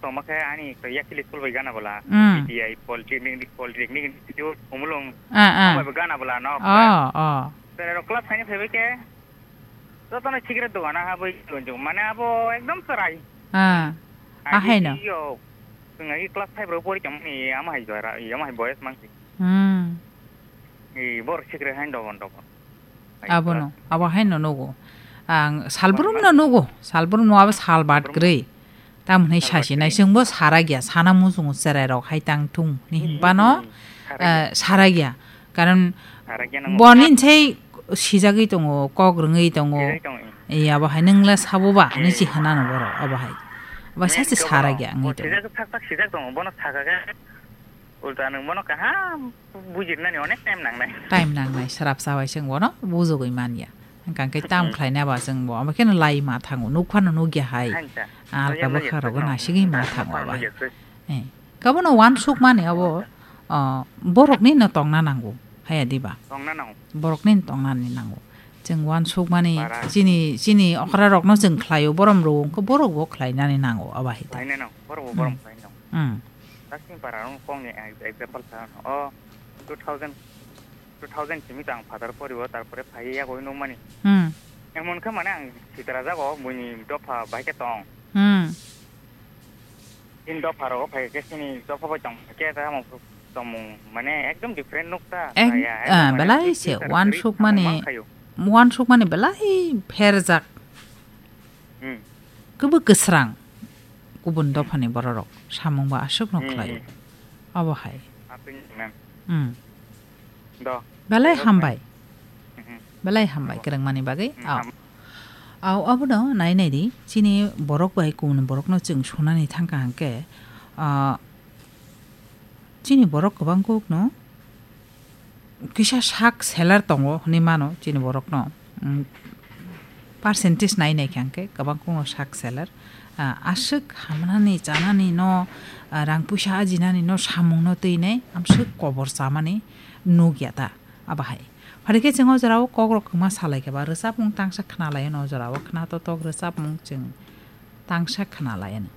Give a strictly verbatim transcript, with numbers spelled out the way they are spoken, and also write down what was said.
Tongma khe ani to yakili school bai gana bala. Hmm. I T I, Polytechnic, Polytechnic Institute, Khumulwng. Ah, ah. Tongma bai gana bala no. Oh, oh. Tere rok class khaini phaibai khe. Jotono cigarette dogan ha bai gonjong. Mane abo ekdom chwrai. Ah. Ahaino. Yo, chwng ai class five rok pori tongmani ama hai jora, ama hai boyes mangsi. Hmm. I bor cigarette hain dogon dogon. Abono, abo haino nugo. Ang salbrum no nugo. Salbrum no abo salbat grei. Tamhwnwi sasi nai chwngbo sara gya, sana muchungo cherai rok hai tang thung ni hinbano, eh, sara gya. Karon boni sai sijagwi tongo, kok rwngwi tongo. Sijagwi tongo. Iya, abo hai nwngla sabo ba, hinwi si hwnano borok, abo hai. Abo sachi sara gya wngwi tongo. Sijak sak sak sijak tongo, bono saka khe. Ulta nwng bono kaham bujirnani onek time nangnai. Time nangnai, srap sabai chwng bono bujogwi manya. Hwnkha khe tam khlaina ba chwng bo, abo kheno lai ma thango, nuk phano nukya hai. Alka bwkha rogo nasigwi ma thango abo hai. Eh, kabono uansuk mani abo, ah, borokni no tongna nango, haya diba? Tongna nango. Borokni no tongnani nango. Chwng uansukmani chini, chini okra rokno chwng khlaio, borom rwo, wngkhe borok bo khlainani nango, abo hai ta. Khlainani nango, borok bo borom khlainani nango. Hmm. Taksin para rok kong ni example sa, o two thousand, two thousand simi tang father poribo, tarpore phai yago nukmani. Hmm. Emon khe mane ang sitra jago, buini dopha bai khe tong. Hmm. Chini dopha rogo phai khe chini dopha bai tong khe ta mo tongmung mane ekdom different nuk ta. Ek, ah, belai se uansukmani, uansukmani belai pherjak. Hmm. Kwbwi kwsrang kubun dophani bororok samung ba aswkno khlaio. Abo hai. Hmm. Do. Belai hambai. Belai hambai kwrwngmani bagwi. Au, abono nai nai di, chini borok bai kubun borokno chwng sunani thangkha hwnkhe, ah, chini borok kwbang kukno kisa sak seller tongo hinwi mano chini borokno. Mm, percentage nai nai kha hwnkhe kwbang kukno sak seller. Ah, aswk hamnani, chanani no, ah, rang puisa ajinani no, samung no twi nai, amswk kobor chamani nukya ta, abo hai. Phari khe chwng o jora o kok rok kwma salai khe ba, rwchapmung tangsa khna lai no, o jora o khna totok rwchapmung chwng tangsa khna lai no.